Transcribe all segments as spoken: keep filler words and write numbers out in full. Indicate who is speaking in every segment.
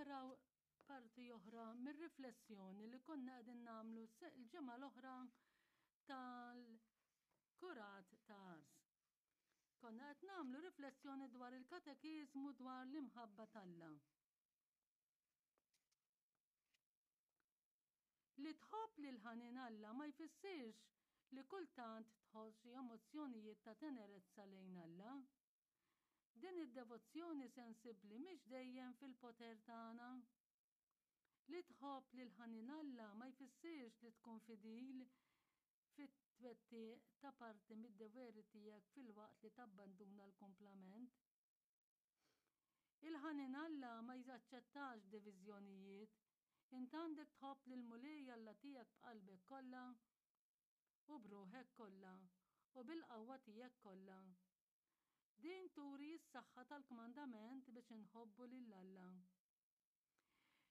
Speaker 1: naraw parti oħra mir-riflessjoni li konna qegħdin nagħmlu l-ġimgħa l-oħra tal-kurat ta' Ars. Konna qed nagħmlu riflessjoni dwar il-katekiżmu dwar l-imħabba t'Alla. Li tħobb lil ħanin Alla ma jfissirx li kultant tħoss xi emozzjonijiet ta' tenerezza lejn Alla. Din id-devozzjoni sensibbli mhix dejjem fil-poter tagħna. Li tħobb lil ħanin Alla ma jfissirx li tkun fidil fit-twettiq ta' parti mid-doveri tiegħek filwaqt li tabbanduna l-kumplament. Il-ħanin Alla ma jaċċettax diviżjonijiet. Int għandek tħobb lill-Mulej Alla tiegħek b'qalbek kollha u b'ruħek kollha u bil-qawwa tiegħek kollha. Din turi s-saħħa tal-kmandament biex inħobbu lil Alla.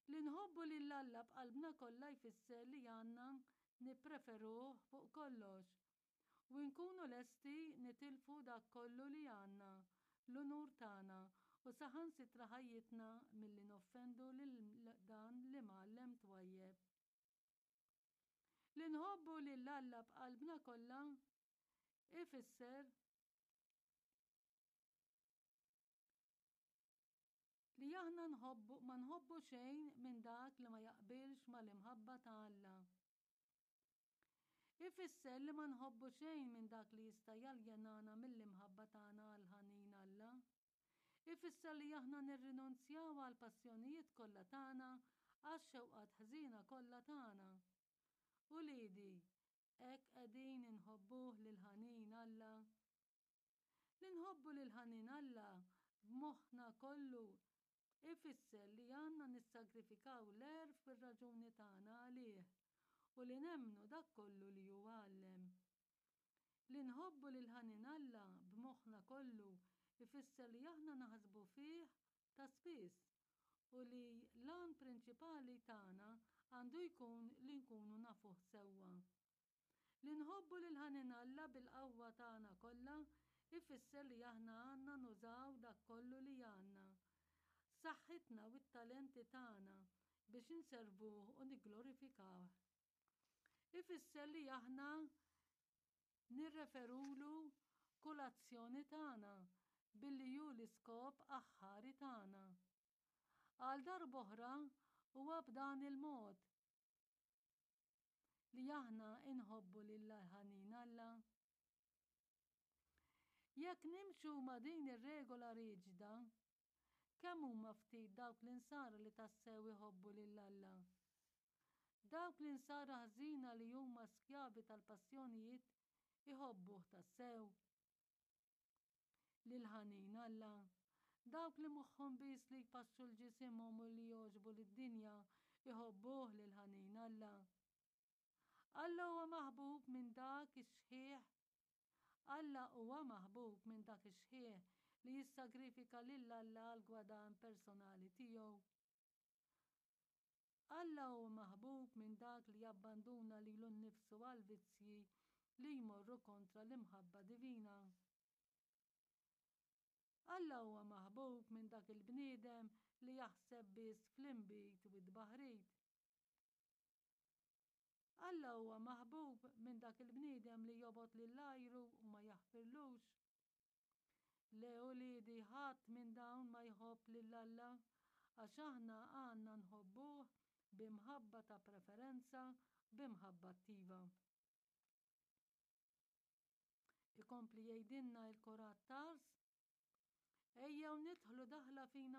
Speaker 1: Li nħobbu lil Alla b'qalbna kollha jfisser li għandna nippreferuh fuq kollox u nkunu lesti nitilfu dak kollu li għandna, l-unur tagħna u saħansitra ħajjitna milli noffendu lil dan l-imgħallem twajjeb. Li nħobbu lil Alla b'qalbna kollha ifisser li aħna nħobbu ma nħobbu xejn minn dak li ma jaqbilx mal-imħabba ta' Alla. Ifisser li ma nħobbu xejn minn dak li jista' jaljenana mill-imħabba tagħna għal ħanin Alla. Ifisser li aħna nirrinunzjaw għal passjonijiet kollha tagħna, għax-xewqat ħżiena kollha tagħna. Uliedi, hekk qegħdin inħobbuh lil ħanin Alla. Li nħobbu lil ħanin Alla b'moħħna kollu ifisser li għandna nissagrifikaw l-għerf u r-raġuni tagħna għalih u li nemmnu dak kollu li hu għallem. Li nħobbu lil ħanin Alla b'moħħna kollu ifisser li aħna naħsbu fih ta' spiss u li l-għan prinċipali tagħna għandu jkun li nkunu nafuh sewwa. Li nħobbu lil ħanin Alla bil-qawwa tagħna kollha ifisser li aħna għandna nużaw dak kollu li għandna, saħħitna u t-talenti tagħna biex inservuh u nigglorifikawh. Ifisser li aħna nirreferulu kull azzjoni tagħna billi hu l-iskop aħħari tagħna. Għal darb'oħra huwa b'dan il-mod li aħna inħobbu lil ħanin Alla. Jekk nimxu ma' din ir-regola riġida, kemm huma ftit dawk l-insara li tassew iħobbu lil Alla. Dawk l-insara ħżiena li huma skjavi tal-passjonijiet iħobbuh tassew lil ħanin Alla. Dawk li moħħhom biss li jpaxxu l-ġisimhom u li jogħġbu lid-dinja iħobbuh lil ħanin Alla. Alla huwa maħbub minn dak ix-xħiħ. Alla huwa maħbub minn dak ix-xħiħ li jissagrifika lil Alla għal gwadan personali tiegħu. Alla huwa maħbub minn dak li jabbanduna lilu nnifsu għal vizzji li jmorru kontra l-imħabba divina. Alla huwa maħbub minn dak il-bniedem li jaħseb biss fl-inbid u t-tbaħrid. Alla huwa maħbub minn dak il-bniedem li jobgħod lil għajru u ma jaħfirlux. Le uliedi, ħadd minn dawn ma jħobb lil Alla, għax aħna għandna nħobbuh b'imħabba ta' preferenza, b'imħabba attiva. Ikompli jgħidilna il-Kurat t'Ars, ejjew nidħlu daħla fina